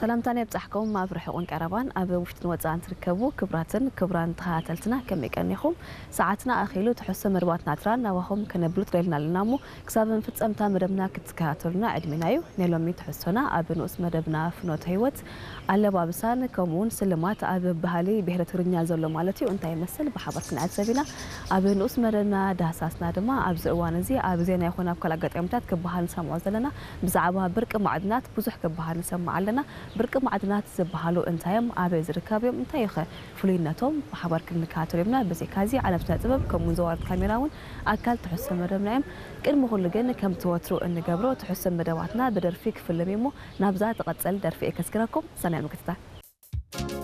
ሰላምታና የብጻሕኩም ኣብ ርሑቕን ቀረባን ኣብ ውሽጥን ወጻእን ትርከቡ ክብራትን ክብራን ተኸታተልትና ከመይ ቀኒኹም? ሰዓትና ኣኺሉ ትሕዝቶ መደባትና ትራን ናባኹም ከነብሉ ትደልና ኣለና እሞ ክሳብ ፍጸምታ መደብና ክትከታተሉና ዕድሜና እዩ። ናይ ሎሚ ትሕዝቶና ኣብ ንኡስ መደብና ፍኖተ ህይወት ኣለባብሳን ከምኡ እውን ስልማት ኣብ ባህሊ ብሄረ ትግርኛ ዘሎ ማለት እዩ እንታይ ይመስል ብሓባር ክንዕዘብ ኢና። ኣብ ንኡስ መደብና ዳህሳስና ድማ ኣብዚ እዋን እዚ ኣብ ዜና ይኹን ኣብ ካልእ ኣጋጣሚታት ክበሃል ንሰምዖ ዘለና ብዛዕባ ብርቂ ማዕድናት ብዙሕ ክበሃል ንሰምዕ ኣለና። ብርቂ ማዕድናት ዝበሃሉ እንታይ እዮም? ኣበይ ዝርከቡ እዮም? እንታይ እዩ ኸ ፍሉይነቶም? ብሓባር ክንከታተሎ እዮምና። ብዘይካዚ ዓለም ስነ ጥበብ ከምኡ እውን ዘዋርድ ካሜራ እውን ኣካል ትሕዝቶ መደብና እዮም። ቅድሚ ኩሉ ግን ከምቲ ወትሩ እንገብሮ ትሕዝቶ መደባትና ብደርፊ ክፍልም እዩ እሞ ናብዛ ትቐጽል ደርፊ እየ ከስግረኩም። ሰናይ ምክትታል።